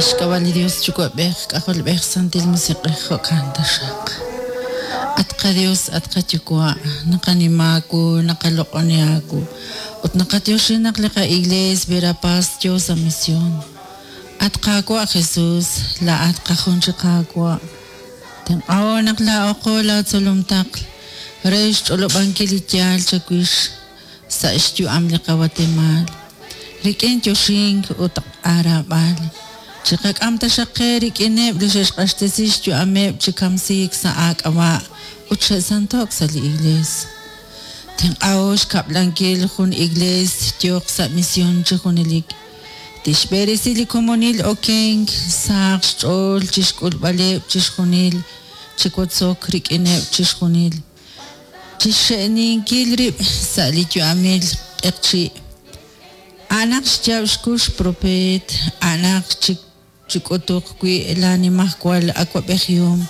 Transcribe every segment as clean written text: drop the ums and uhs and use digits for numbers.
Sa' xk'ab'a' li Dios Yuwa'b'ej, K'ajolb'ej, Santil Musiq'ej, jo'kan taxaq. At qaDios, at qaYuwa', naqanima aawu, naqaloq'oni aawu, ut naqatyoxi naq li qa'Iglees Verapaz yo sa' mision. At Qaawa' Jesus, laa'at qajun chi Qaawa'. Tenq'aho naq laa'oqo laatzolom taql re xch'olob'ankil li yaal chawix sa' xyu'am li qaWatemaal. Rik'in yoxink ut aaraab'al, chiqak'am taxaq qe rik'ineb' li xe'xq'axtesi xyu'ameb' chi kamsiik sa' aak'ab'a' ut xe'santo'k sa' li Iglees. Tenq'aho xkab'lankil jun Iglees yooq sa' mision chi junelik. Tixb'eresi li komonil okenk sahaq xch'ool chixk'ulb'aleb' chixjunil, chi wotzok rik'ineb' chixjunil, chixxe'ninkil rib' sa' li yu'amil q'eqchi'. A'anaq xyaab' xkux propeet, a'anaq chik'utuq wi' laanimajwal awab'ejihom,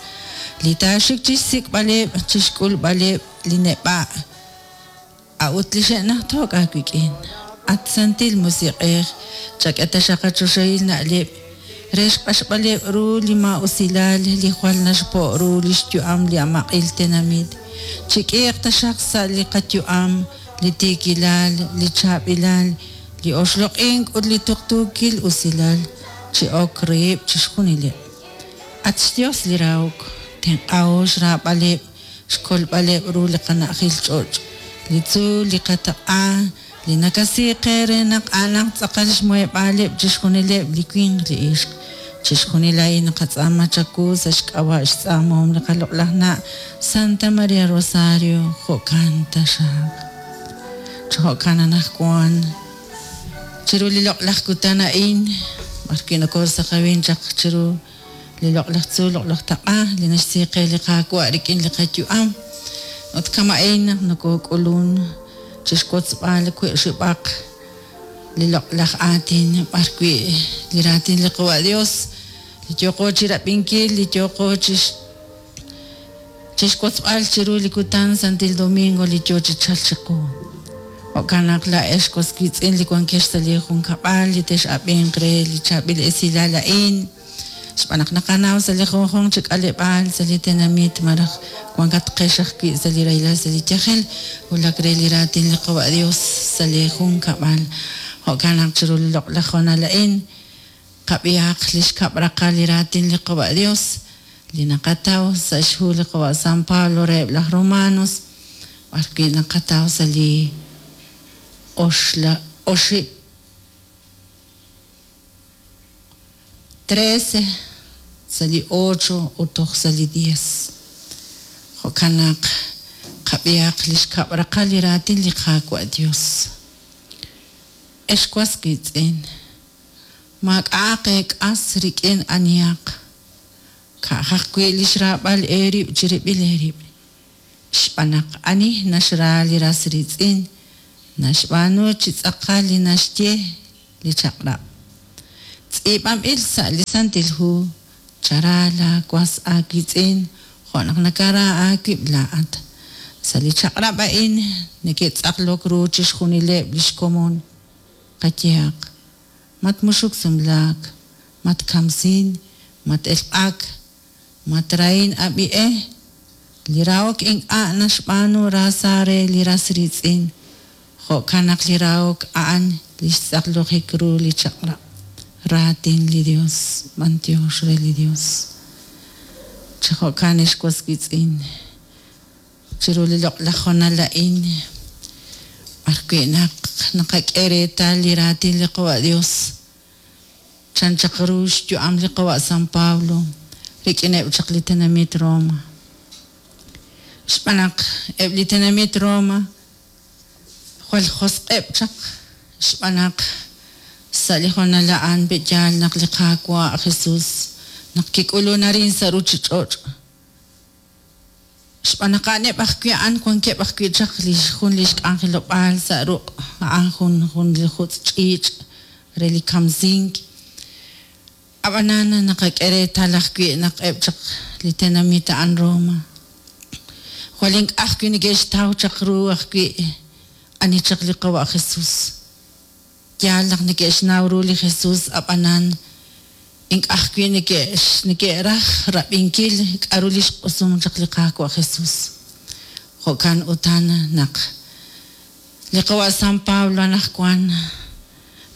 li taaxik chi xsik'b'aleb' chixk'ulb'aleb' li neb'a' a'ut li xe'najto'k aawik'in. At Santil Musiq'ej, chak'e taxaq qachoxahil na'leb' re xq'axb'aleb' ru li maa'usilal li jwal naxpo' ru li xyu'am li amaq'il tenamit. Chik'iiq taxaq sa' li qayu'am li tiikilal, li chaab'ilal, li oxloq'ink ut li tuqtuukil usilal chi ok reheb' chixjunileb'. At xYos li rahok, tenq'aho xraab'aleb', xkolb'aleb' ru li qana'ajil ch'och', li tzuul, li qataq'a, li nakasi qe re naq a'anaq tz'aqal xmuheb'aaleb' chixjunileb' li winq li ixq. Chixjunil a'in naqatz'aama chawu sa' xk'ab'a' xtz'aamahom li qaloq'laj na' Santa Maria Rosario, jo'kan taxaq. Chi jo'kan anaqwan chiru li loq'laj kutan a'in, b'arwi' nokoosaqawin chaq chiru li loq'laj tzuul, loq'laj taq'a, li naxsi qe li Qaawa' rik'in li qayu'am. Ut kama'in naq nokook'ulun chixwotzb'al wi'xib'aq li loq'laj aatin b'arwi' li raatin li Qawa' Dios, li yooqo chirab'inkil, li yooqo chixwotzb'al chiru li kutan Santil Domingo li yoo chi chalk chiqu. Jo'kan naq laa'ex was wiitz'in li wankex sa' li junkab'al li tex'ab'inq re li chaab'il esilal a'in, xb'aan naq naqanaw sa' li junjunq chi k'aleb'aal sa' li tenamit malaj wankatqex ajwi' sa' li rahilal sa' li yajel, wulak re li raatin li Qawa' Dios sa' li junkab'al. Jo'kan naq chiru li loq'laj hoonal a'in qab'ihaq li xkab' raqal li raatin li Qawa' Dios li naqataw sa' xhu li Qawa' San Pablo reheb' laj Romanos, b'arwi' naqataw sa' li oxla oxib' 13, sa' li 8 ut toj sa' li 10. Jo'kan naq qab'ihaq li xkab' raqal li raatin li Qaawa' Dios. Ex was wiitz'in, maak'a'aq eek'as rik'in anihaq, ka'aj ajwi' li xraab'al eerib' chirib'il eerib'. Xb'aan naq ani naxra li ras riitz'in, naxb'aanu chi tz'aqal li naxye li chaq'rab'. Tz'iib'anb'il sa' li Santil Hu, chara laawas aawiitz'in jo' naq nakara aawib' laa'at. Sa' li chaq'rab' a'in neke'tz'aqlok ru chixjunileb' li xkomon. Qayehaq, matmuxuk sumlaak, matkamsin, mat-elq'ak, matrahin ab'i'e. Li rahok ink'a' naxb'aanu raasa re li ras riitz'in. Jo'kan naq li rahok a'an li xtz'aqlojik ru li chaq'rab'. Raatin li Dios, b'antiox re li Dios. Chi jo'kan ex was wiitz'in, chiru li loq'laj hoonal a'in, b'arwi' naq naqak'e reetal li raatin li Qawa' Dios, chan chaq ru xyu'am li Qawa' San Pablo rik'ineb' chaq li tenamit Roma. Xb'aan naq eb' li tenamit Roma jwal josq'eb' chaq, xb'aan naq sa' li hoonal a'an pe'yaal naq li Qaawa' Jesus naq kik'ulun arin sa' ruuchich'och'. Xb'aan naq a'aneb' ajwi' a'an wankeb' ajwi' chaq li jun li xk'anjelob'aal sa' ruq' a'an jun jun li jutz' ch'iich' re li kamsink. Ab'anan naqak'e reetal ajwi' naq eb' chaq li tenamit a'an Roma. Jwal ink'a' ajwi' neke'xtaw chaq ru ajwi' ani chaq li Qawa' Jesus. Yaal naq neke'xnaw ru li Jesus, ab'anan Ink'a' ajwi' neke'raj rab'inkil k'aru li xq'usum chaq li Qaawa' Jesus. Jo'kan utan naq li qawa' San Pablo anaqwan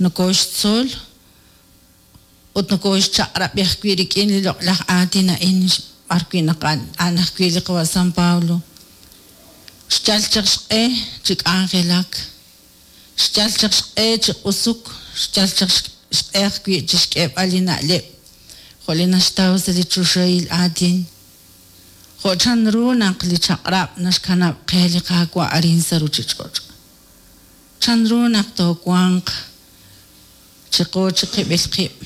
nokooxtzol ut nokooxchaq'rab'i ajwi' rik'in li loq'laj aatin a'in b'arwi' naq a'an ajwi' li qawa' San Pablo xyal chaq xq'e chi k'anjelak, xyal chaq xq'e chi q'usuk, xyal chaq xq'e ajwi' chi xk'eeb'al li na'leb' jo' li naxtaw sa' li choxahil aatin, jo' chanru naq li chaq'rab' naxkanab' qe li Qaawa' arin sa' ruuchich'och'. Chanru naq toowanq chiqu chiqib'il qib'?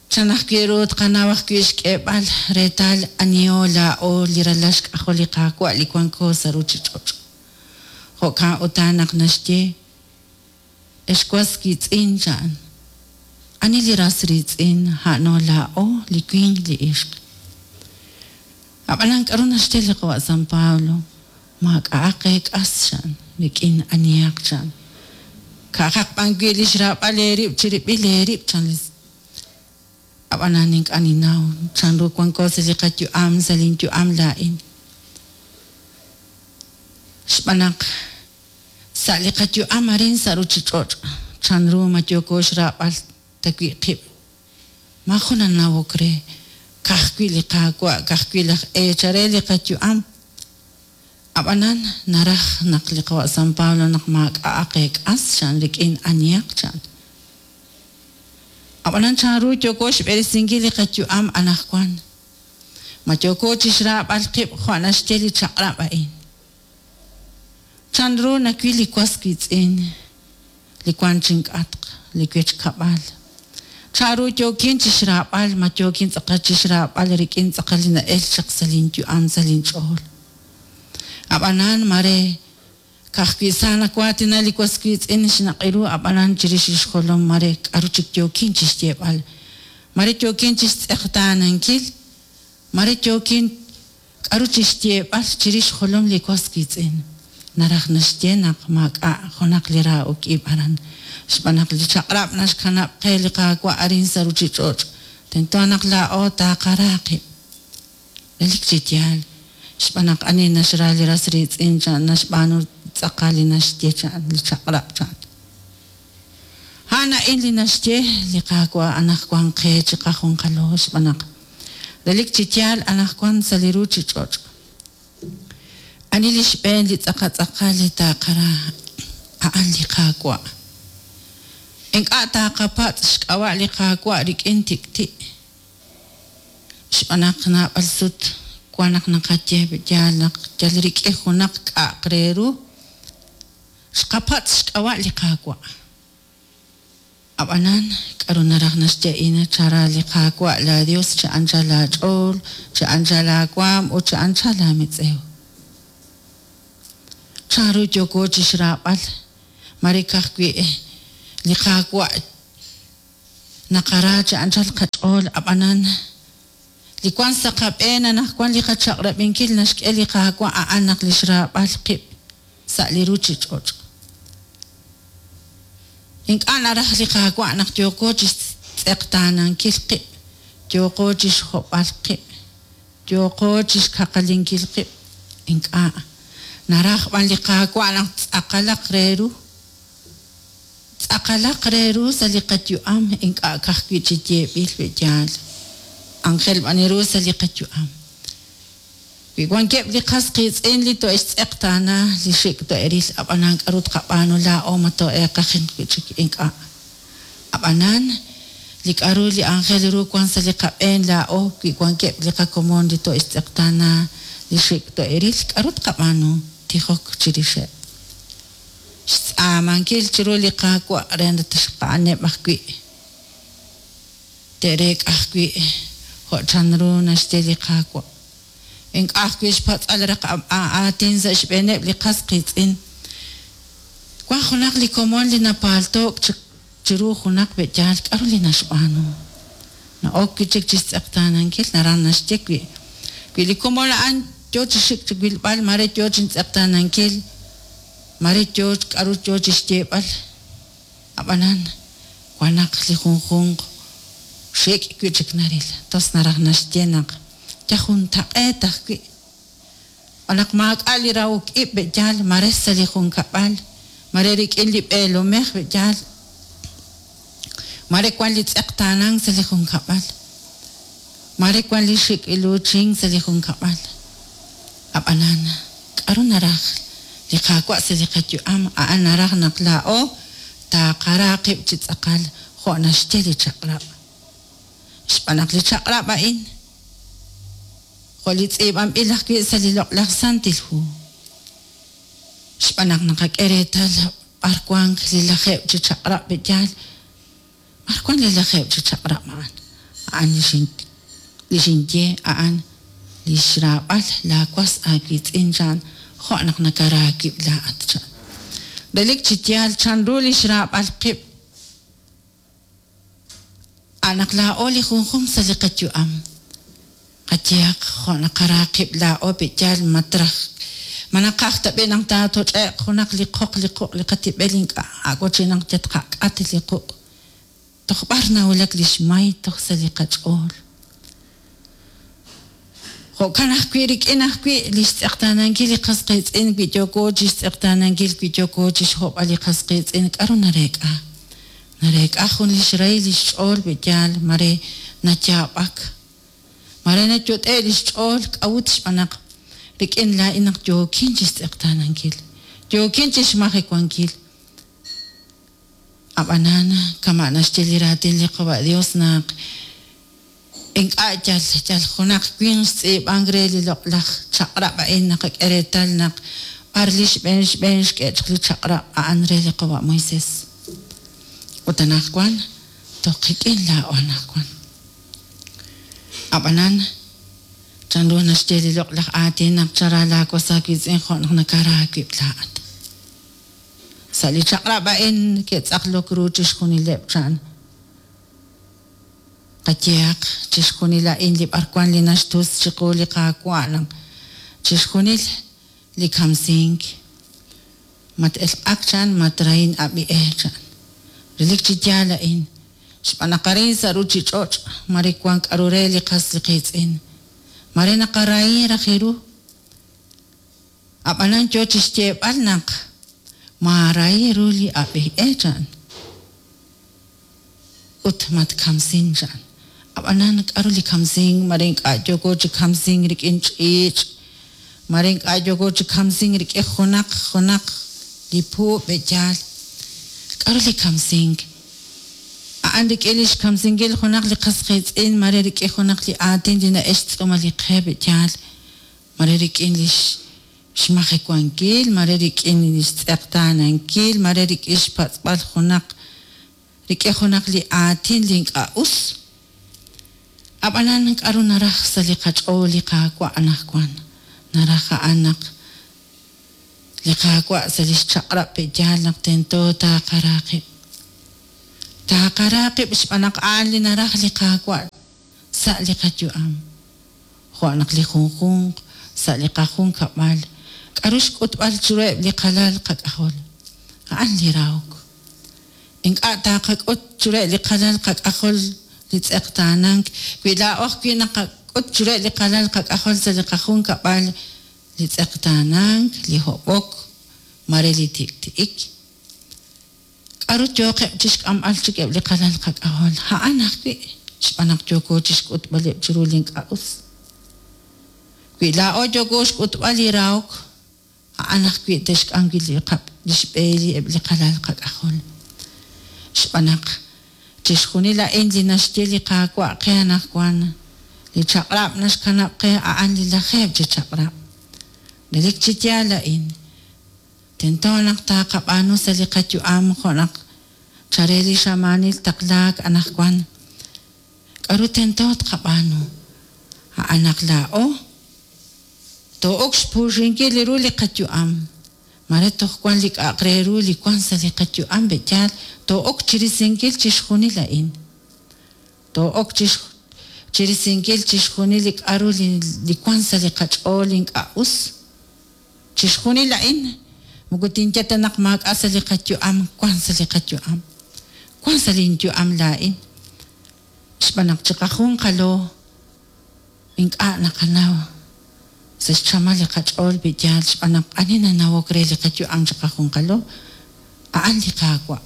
Chan ajwi' ru tqanaw ajwi' xk'eeb'al reetal aniho laa'o li ralal xk'ajol li Qaawa' li wanko sa' ruuchich'och'? Jo'kan utan naq naxye, Ex was wiitz'in, chan. Ani li ras riitz'in, a'ano laa'o, li winq, li ixq. Ab'anan k'aru naxye li qawa' San Pablo? Maak'a'aq eek'as, chan, rik'in anihaq, chan. Ka'ajaq b'an wi' li xraab'al eerib' chirib'il eerib', chan li. Ab'anan ink'a' ninnaw chanru wanko sa' li qayu'am, sa' linyu'am laa'in. Xb'aan naq sa' li qayu'am arin sa' ruuchich'och', chanru ma yooko xraab'al ta wi' qib'? Maajun nanawok re, ka'ajwi' li Qaawa', ka'ajwi' laj eechal re li qayu'am. Ab'anan naraj naq li qawa' San Pablo naq maak'a'aq eek'as, chan, rik'in anihaq, chan. Ab'anan chanru yooko xb'eresinkil li qayu'am anaqwan? Ma yooko chi xraab'al qib' jo' naxye li chaq'rab' a'in? Chanru nawil li was wiitz'in, li wank chink'atq, li wechkab'al? Chanru yookin chi xraab'al? Ma yookin tz'aqal chi xraab'al rik'in tz'aqal li na'elk chaq sa' linyu'am, sa' linch'ool? Ab'anan mare Ka'ajwi' sa nawaatina li was wiitz'in xnaq'i ru, ab'anan chirix li xjolom mare k'aru chik yookin chi xyeeb'al. Mare yookin chi xtz'eqtaanankil, mare yookin k'aru chi xyeeb'al chirix xjolom li was wiitz'in. Naraj naxye naq maak'a' junaq li rahok ib' aran, xb'aan naq li chaq'rab' naxkanab' qe li Qaawa' arin sa' ruuchich'och', tento naq laa'o taaqara qib'. Relik chi yaal, xb'aan naq ani naxra li ras riitz'in chan naxb'aanu tz'aqal li naxye chan li chaq'rab' chan. A'an a'in li naxye li Qaawa' anaqwan qe chiqajunqalo xb'aan naq relik chi yaal anaqwan sa' li ruuchich'och'. Ani li xb'een li tz'aqal tz'aqal li taaqara a'an li Qaawa'. Ink'a' taaqapatz' xk'ab'a' li Qaawa' rik'in tik'ti'. Xb'aan naq naab'al sut wan naq naqaye yaal naq yal rik'in junaq k'a'aq re ru xqapatz' xk'ab'a' li Qaawa'. Ab'anan, k'aru naraj naxye a'in? Chara li Qaawa' laaYos chi anchal aach'ool, chi anchal aawaanm ut chi anchal aametz'ew. Chanru yooko chi xraab'al? Mare ka'ajwi' li Qaawa' Naqara chi anchal qach'ool, ab'anan, li wank sa' qab'een anaqwan li qachaq'rab'inkil naxk'e li Qaawa' a'an naq li xraab'al qib' sa' li ruuchich'och'. Ink'a' naraj li Qaawa' naq yooqo chi xtz'eqtaanankil qib', yooqo chi xhob'al qib', yooqo chi xkaqalinkil qib'. Ink'a'. Naraj b'an li Qaawa' naq tz'aqalaq re ru. Tz'aqalaq re ru sa' li qayu'am, ink'a' ka'ajwi' chi yeeb'il wi' yaal. Anjel b'an ru sa' li qayu'am. Wi wankeb' li qas qiitz'in li to'e'xtz'eqtaana, li xik' to'e'ril, ab'anan k'aru tqab'aanu laa'o ma too'eeqajinq wi' chik? Ink'a'. Ab'anan, li k'aru li anjel ru wank sa' li qab'een laa'o wi wankeb' li qakomon li to'e'xtz'eqtaana, li xik' to'e'ril, k'aru tqab'aanu? Tijok chirixeb'. Xtz'aamankil chiru li Qaawa' re naq a'aneb' ajwi' te'reek'a ajwi' jo' chanru naxye li Qaawa'. Ink'a' ajwi' xpatz'al raq aatin sa' xb'eeneb' li qas qiitz'in. Wank junaq li komon li napaalto'k chiru junaq be'yaal k'aru li naxb'aanu. Na'ok wi' chik chi xtz'eqtaanankil, naraj naxye wi' wi li komon a'an yo chi xik chi wilb'al mare yo chintz'eqtaanankil, mare yo k'aru yo chi xyeeb'al. Ab'anan, wan naq li junjunq. Xik' wi' chik naril. Tos naraj naxye naq yal juntaq'eet ajwi'. Xb'aan naq maak'a' li rahok ib' pe'yaal mare sa' li junkab'al, mare rik'in li b'eelomej pe'yaal, mare wan li tz'eqtaanank sa' li junkab'al, mare wan li xik' iluuchink sa' li junkab'al. Ab'anan, k'aru naraj li Qaawa' sa' li qayu'am? A'an naraj naq laa'o taaqara qib' chi tz'aqal jo' naxye li chaq'rab'. Xb'aan naq li chaq'rab' a'in, jo' li tz'iib'anb'il ajwi' sa' li Loq'laj Santil Hu, xb'aan naq naqak'e reetal b'ar wank li lajeeb' chi chaq'rab' pe'yaal, b'ar wank li lajeeb' chi chaq'rab' a'an? A'an li xinye a'an li xraab'al laawas aawiitz'in chan jo' naq nakara aawib' laa'at chan. Relik chi yaal chanru li xraab'al qib' a' naq laa'o li junjunq sa' li qayu'am. Qayehaq jo' naqara qib' laa'o pe'yaal ma traj ma naqaj ta b'i' naq taatoch'e'q junaq li qoq li quq' li qatib'el ink'a' a'wachi naq yal tqak'at li quq' toj b'ar nawulak li xmay toj sa' li qach'ool. Jo'kan ajwi' rik'in ajwi' li xtz'eqtaanankil li qas qiitz'in wi yooko chi xtz'eqtaanankil wi yooko chi xhob'al li qas qiitz'in k'aru nareek'a? Nareek'a jun li xrahil li xch'ool pe'yaal mare nayaab'ak. Mare nayot'e' li xch'ool k'a'ut xb'aan naq rik'in laa'in naq yookin chi xtz'eqtaanankil, yookin chi xmajewankil. Ab'anan, kama' naxye li raatin li Qawa' Dios naq ink'a' yal yal junaq winq xtz'iib'ank re li loq'laj chaq'rab' a'in naqak'e reetal naq b'ar li xb'een xb'een xk'e chaq li chaq'rab' a'an re li Qawa' Moisés. Ut anaqwan toj qik'in laa'o anaqwan. Ab'anan, chanru naxye li loq'laj aatin naq chara laawas aawiitz'in jo' naq nakara aawib' laa'at. Sa' li chaq'rab' a'in ke'tz'aqlok ru chixjunileb' chan. Qayehaq, chixjunil a'in li b'arwan li naxtus chiqu li Qaawa' naq chixjunil li kamsink, mat-elq'ak chan, matrahin ab'i e chan. Relik chi yaal a'in, xb'aan naq arin sa' ruuchich'och' mare wank k'aru re li qas li qiitz'in, mare naqarahi raj ru. Ab'anan yo chi xyeeb'al naq maarahi ru li ab'i e chan ut matkamsin chan. Ab'anan k'aru li kamsink mare ink'a' yooko chi kamsink rik'in ch'iich', mare ink'a' yooko chi kamsink rik'in junaq junaq li puub' pe'yaal. K'aru li kamsink? A'an rik'in li xkamsinkil junaq li qas qiitz'in mare rik'in junaq li aatin li na'ex xtz'uumal li qe pe'yaal, mare rik'in li xmajewankil, mare rik'in li xtz'eqtaanankil, mare rik'in xpatz'b'al junaq rik'in junaq li aatin li ink'a' us. Ab'anan k'aru naraj sa' li qach'ool li Qaawa' anaqwan? Naraj a'an naq li Qaawa' sa' li xchaq'rab' pe'yaal naq tento taaqara qib'. Taaqara qib' xb'aan naq a'an li naraj li Qaawa' sa' li qayu'am. Jo' naq li junjunq sa' li qajunkab'al k'aru xk'utb'al chiruheb' li qalal qak'ajol? A'an li rahok. Ink'a' taaqak'ut chiruheb' li qalal qak'ajol li tz'eqtaanank, wi laa'o ajwi' naqak'ut chiruheb' li qalal qak'ajol sa' li qajunkab'al li tz'eqtaanank, li hob'ok, mare li tik'ti'ik. K'aru yooqeb' chi xk'amb'al chik eb' li qalal qak'ajol? A'an ajwi', xb'aan naq yooko chi xk'utb'aleb' chiru li ink'a' us. Wi laa'o yooko xk'utb'al li rahok, a'an ajwi' te'xk'am wi' li xb'e eb' li qalal qak'ajol. Xb'aan naq chixjunil a'in li naxye li Qaawa' qe anaqwan, li chaq'rab' naxkanab' qe a'an li lajeeb' chi chaq'rab'. Relik chi yaal a'in, tento naq taaqab'aanu sa' li qayu'am jo' naq chare li xamaanil taqlaak anaqwan. K'aru tento tqab'aanu? A'an naq laa'o too'ok xpuuxinkil ru li qayu'am. Mare toj wank li k'a'aq re ru li wank sa' li qayu'am pe'yaal too'ok chirisinkil chixjunil a'in. Too'ok chirisinkil chixjunil li k'aru li wank sa' li qach'ool li ink'a' us. Chixjunil a'in moko tinye ta naq maak'a' sa' li qayu'am, wank sa' li qayu'am. Wank sa' linyu'am laa'in. Xb'aan naq chiqajunqalo ink'a' naqanaw sa' xchamal li qach'ool wi yaal xb'aan naq ani nanawok re li qayu'am chiqajunqalo a'an li Qaawa'.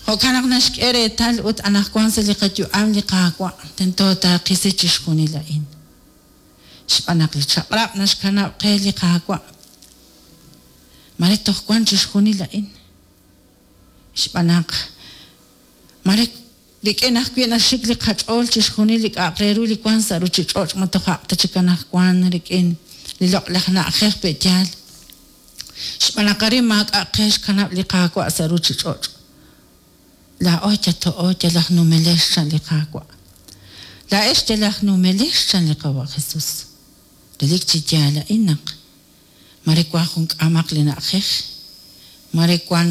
Jo'kan naq naxk'e reetal ut anaqwan sa' li qayu'am li Qaawa' tento taaqisi chixjunil a'in. Xb'aan naq li chaq'rab' naxkanab' qe li Qaawa'. Mare toj wan chixjunil a'in. Xb'aan naq mare rik'in ajwi' naxik li qach'ool chixjunil li k'a'aq re ru li wan sa' ruchich'och' ma tojaq ta chik anaqwan rik'in li loq'laj na'ajej pe' yaal. Xb'aan naq arin maak'a' qe xkanab' li Qaawa' sa' ruchich'och'. Laa'o yato'o yal aj numelex chan li Qaawa'. Laa'ex yal aj numelex chan li Qawa' Jesus. Relik chi yaal a'in naq mare wan jun k'aamaq li na'ajej, mare wan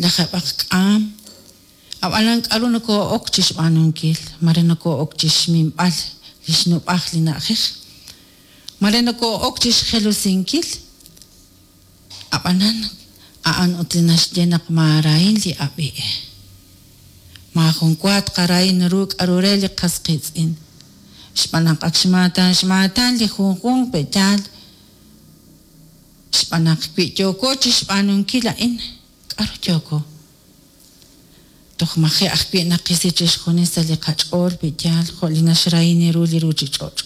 lajeeb'aq k'aam, ab'anan k'aru nokoo'ok chi xb'aanunkil, mare nokoo'ok chi xminb'al li xnub'aj li na'ajej, mare nokoo'ok chi xjelusinkil, ab'anan a'an ut li naxye naq maarahin li ab'i. Maajun wa tqarahin ru k'aru re li qas qiitz'in. Xb'aan naq ak xmaatan xmaatan li junjunq pe' yaal, xb'aan naq wi yooko chi xb'aanunkil a'in, k'aru yooko? Toj maji' ajwi' naqisi chixjunil sa' li qach'ool pe' yaal jo' li naxrahini ru li ruchich'och'.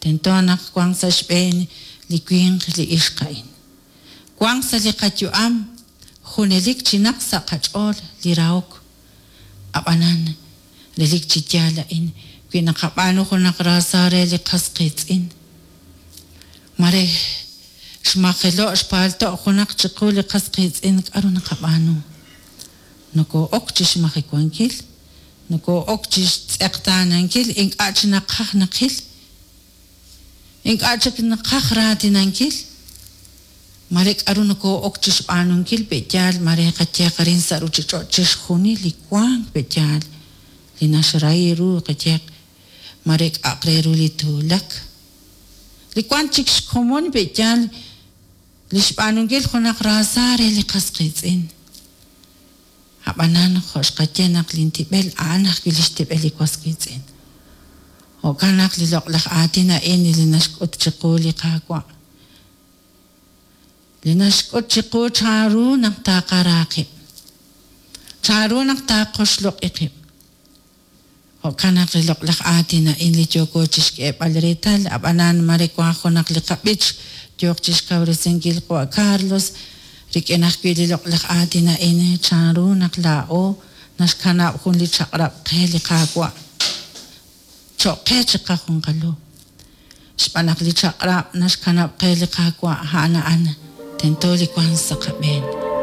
Tento naq wanq sa' xb'een li winq li ixq a'in. Wanq sa' li qayu'am junelik chinaq sa' qach'ool li rahok. Ab'anan relik chi yaal a'in wi naqab'aanu junaq raasa re li qas qiitz'in. Mare xmajelo' xpaalto' junaq chiqu li qas qiitz'in k'aru naqab'aanu. Nokoo'ok chi xmajewankil, nokoo'ok chi xtz'eqtaanankil ink'a' chi naqaj naqil, ink'a' chik naqaj raatinankil. Mare k'aru nokoo'ok chi xb'aanunkil pe' yaal mare qayeeq arin sa' ruchich'och' chixjunil li wank pe' yaal li naxrahi ru qayeeq mare k'a'aq re ru li tuulak. Li wank chik xkomon pe' yaal li xb'aanunkil junaq raasa re li qas qiitz'in. Ab'anan jo' xqaye naq lintib'el a'an ajwi' li xtib'el li was wiitz'in. Jo'kan naq li loq'laj aatin a'in li naxk'ut chiqu li Qaawa'. Li naxk'ut chiqu chanru naq taqara qib'. Chanru naq taqoxloq'i qib'. Jo'kan naq li loq'laj aatin a'in li yooko chi xk'eeb'al reetal, ab'anan mare wank junaq li qab'ich yooq chi xkawresinkil qawa' Carlos, rik'in ajwi' li loq'laj aatin a'in chanru naq laa'o naxkanab' jun li chaq'rab' qe li Qaawa' cho'q qe chiqajunqalo. Xb'aan naq li chaq'rab' naxkanab' qe li Qaawa' a'an a'an tento li wank sa' qab'een.